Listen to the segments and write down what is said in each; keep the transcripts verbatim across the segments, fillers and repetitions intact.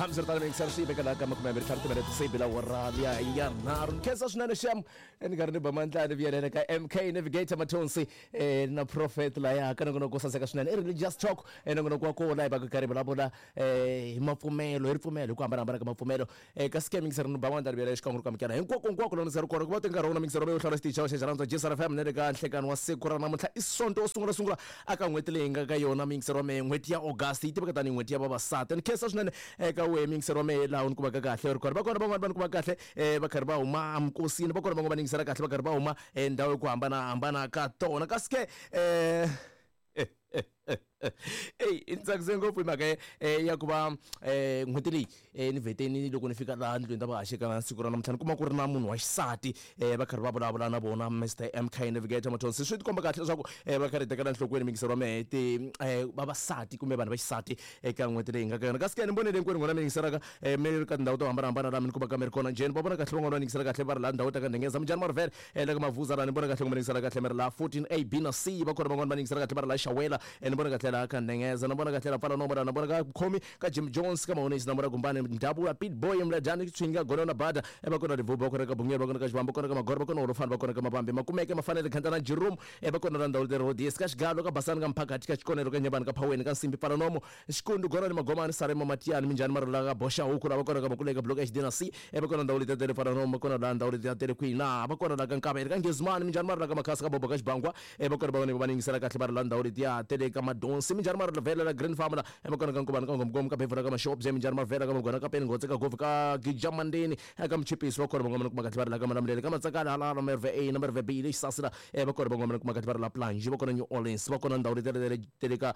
Hambiswiritano miyingiseri swi vekela ka makume mbirhi ntlhanu timinete se yi bela awara liya ya nharhu. Ni khensa swinene xem ni karhi ni ba mandlani vuyelele ka M K Navigator Mathonsi eh, na Prophet laya ka nongonoko wo saseka swinene i Religious Talk, eh, nongonoko wa kona hi va karhi vulavula eh, hi mapfumelo, hi ripfumelo hi ku hambanahambana ka mapfumelo. Eh, kasi ke miyingiseri ni ba mandlani vuyelele xikan'we ri ku amukela hinkwako hinkwako lowu ni ri kona ku va te nkarhi wona miyingiseri wa hlawula xitichi xa xa rhandza J S R F M na le ka nhlekani wa siku ra namuntlha i Sonto wo sungula sungula aka n'hweti leyi nga ka yona miyingiseri wa mehe n'hweti ya August yi tiveka tanihi n'hweti ya vavasati. Ni khensa swinene eka wehe miyingiseri wa mehe laha u ni kumaka kahle ri kona. Va kona van'wani va ni kuma kahle eh, va karhi va huma emikosini, va kona van'wani va ni yingisela kahle va karhi va huma endhawu hi ku hambanahambana ka tona. Kasi ke eh, eyi i ni tsakise ngopfu hi mhaka ya ku va n'hweti leyi ni vheteni loko ni fika laha ndlwini ta vahaxi ka siku ra namuntlha ni kuma ku ri na munhu wa xisati va karhi va vulavula na vona Mister M K Navigator Mathonsi. Swi tikomba kahle leswaku va karhi hi tekela enhlokweni miyingiseri wa mehe ti vavasati kumbe vanhu va xisati eka n'hweti leyi nga ka yona. Kasi ke ni vonile hinkwenu n'wina mi yingiselaka mi ri ka tindhawu to hambanahambana laha mi ni kumaka mi ri kona njheni va vona kahle van'wana va yingisela kahle va ri laha ndhawu ta ka Ndhengeza minjhani Marivele la ka Mavuza laha ni vona kahle ku mi yingisela kahle mi ri laha fourteen A B na C. Va kona van'wana va yingisela kahle va ri laha Xawela, ni vona kahle laha ka Ndhengeza, ni vona kahle laha Pfala Nomo laha, ni vona ka Khomi ka Jim Jones ka Mahonisi, na vona Gumbani Ndhavuka Pitboy Mlajani Tswinga Gonona Bada, va kona Rivubu, va kona ka Bungeni, va kona ka Xivambu, va kona ka Magoro, va kona Holofani, va kona ka Mavambi Makumeke Mafanele Khantana Jerome, va kona la ndhawu leri Rhodes ka Xigalo ka Basani ka Mphakathi ka Xikonelo ka Nyabani ka Phaweni ka Nsimbi Pfala Nomo Xikundu Gorani Magomani Sarema Matiyani minjhani Marula ka Boxa Huku la va kona ka Makuleka Block H D na C, va kona ndhawu leti tele Pfala Nomo, va kona la ndhawu leti tele kwihi na va kona la ka Nkavele ka Ngezimani minjhani Marula ka Makhasa ka Bobo ka Xibangwa, va kona van'wana va yingisela kahle va ri la ndhawu letiya tele ka Madonsi minjhani Marula Vhela la Green Farm la, va kona ka Nkuvani ka Ngomgom ka Bevula ka Maxobye minjhani Marvela ka Magwana ka Peni Ngotse ka Govi ka Gijamandeni ka Mchipisi, va kona van'wana kuma kahle va ri la ka Malamulele ka Matsakala hala Merve A na Merve B le Xisasi la, va kona van'wana kuma kahle va ri la Plunge, va kona New Orleans, va kona ndhawu leti tele tele ka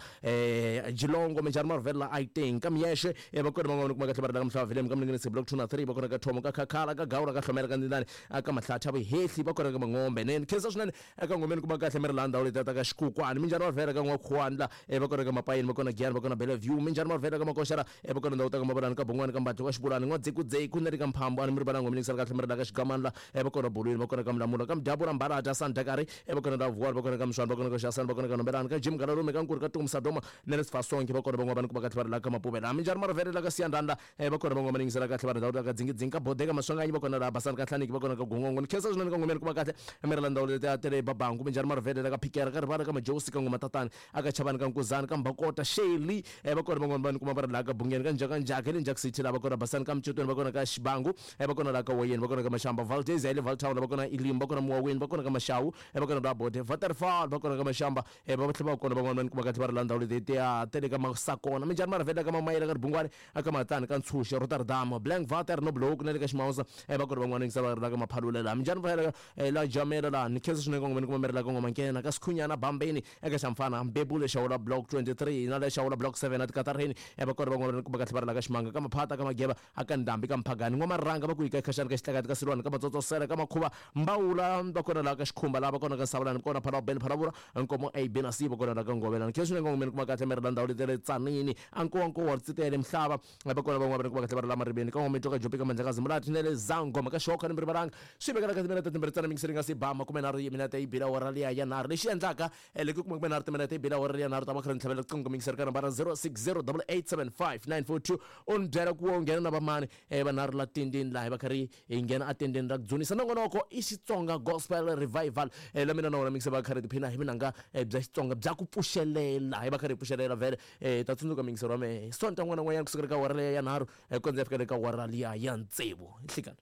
Geelong minjhani Marvela la Aiteng ka Miyexe, va kona van'wana kuma kahle va ri la ka Mhlava Vilem ka Mlinganisi Block two na three, va kona ka Thomo ka Khakhala ka Gawula ka Hlomela ka Ndindani ka Mahlatha Vuhehli, va kona ka Mangombe. Ne ni khensa swinene eka ngomeni kuma kahle mi ri laha ndhawu letiya ta ka Xikukwani minjhani Marvela ka N'wakhuwani la, va kona ka Mapayeni, va kona Giyani, va kona Bellevue minjhani Marvela ka Makoxela, va kona ndhawu ta ka Mabalani ka Bongwani ka Mbatlo ka Xibulani N'wadzekudzeku na le ka Mphambo a ni mi ri valanga mi yingisela kahle mi ri la ka Xigamani la, va kona Bolweni, va kona ka Mlamula ka Mdyabula Mbalata Sandakari, va kona la Vuwani, va kona ka Mswani, va kona ka Xasani, va kona ka Nombelani ka Jim Galalume ka Nkuri ka Tumu Sadoma na le Sifasonke, va kona van'wana va ni kuma kahle va ri la ka Mapuvela minjhani Marvela la ka Siyandhani la, va kona van'wana va ni yingisela kahle va ri ndhawu ta ka Dzingidzingi ka Bodeka Maswanganyi, va kona la Basani ka Hlaniki, va kona ka Gongongo. Ni khensa swinene ka ngomeni kuma kahle mi ri la ndhawu letiya tele Babangu minjhani Marvela la ka Phikera ka Rivala ka Majosi ka Ngoma Tatani aka Chavani ka Nkuzani ka Mbakota Sheli, va kona van'wana va ni kuma va ri laha ka Bungeni ka Njhaka Njhaka le Njhaka City la, va kona Basani ka Mcotweni, va kona ka Xibangu, va kona la ka Woyeni, va kona ka Mashamba Valdez ya le Valtown, va kona Elim, va kona Muwaweni, va kona ka Maxawu, va kona la Bode Waterfall, va kona ka Mashamba, va tlhela va kona van'wana va ni kuma kahle va ri la ndhawu letiya tele ka Masakona minjhani Marvela ka Mamayela ka Ribungwani aka Matani ka Ntshuxe Rotterdam Blank Water no Block na le ka Ximausa, va kona van'wana yingisela va ri la ka Maphalule la minjhani va la Jamela la. Ni khensa swinene ka ngoma ni kuma mi ri la ka Ngoma Nkena ka Sikhunyana Bambeni eka Xamfana Mbebule Xawula Block twenty-three na le Xawula Block seven a Tikatarheni, va kona van'wana va ni kuma kahle va ri la ka Ximanga ka Maphata ka Mageba aka Ndhambi ka Mphagani N'wamarhanga va ku yi ka Khaxani ka Xitlakati ka Silwani ka Matsotsosela ka Makhuva Mbawula, va kona la ka Xikhumba la, va kona ka Savalani, va kona Phalabeni Phalavula Nkomo A B na C, va kona la ka Ngovela. Ni khensa swinene ka ngoma ni kuma kahle mi ri la ndhawu leti le Tsanini Ankowankowa Ritsitele Mhlava, va kona van'wana va ni kuma kahle va ri la Mariveni ka N'wamitwa ka Jopi ka Mandlakazi Mulati na le Zangoma ka Xoka ni mi rivalanga swi vekela ka timinete timbirhi ntsena mingiseri nga si ba makume nharhu yi minete yi bila awara liya ya nharhu lexi endlaka loko ku makume nharhu timinete yi bila awara liya nharhu ta va kha ri ni tlhavela riqingho mingiseri ka nambara zero six zero double eight seven five nine four two u ni byela ku wo nghena na vamani vanharhu la tendeni laha va kha ri hi nghena atendeni ra ku dzunisa nongonoko i Xitsonga Gospel Revival la mina na wona mingiseri va kha ri tiphina hi vunanga bya Xitsonga bya ku pfuxelela hi va kha ri pfuxelela vhele ta tsundzuka mingiseri wa mehe Sonta n'wana n'wanyana kusukela ka awara liya ya nharhu ku kondza ya fika le ka awara liya ya tsevu nhlikani.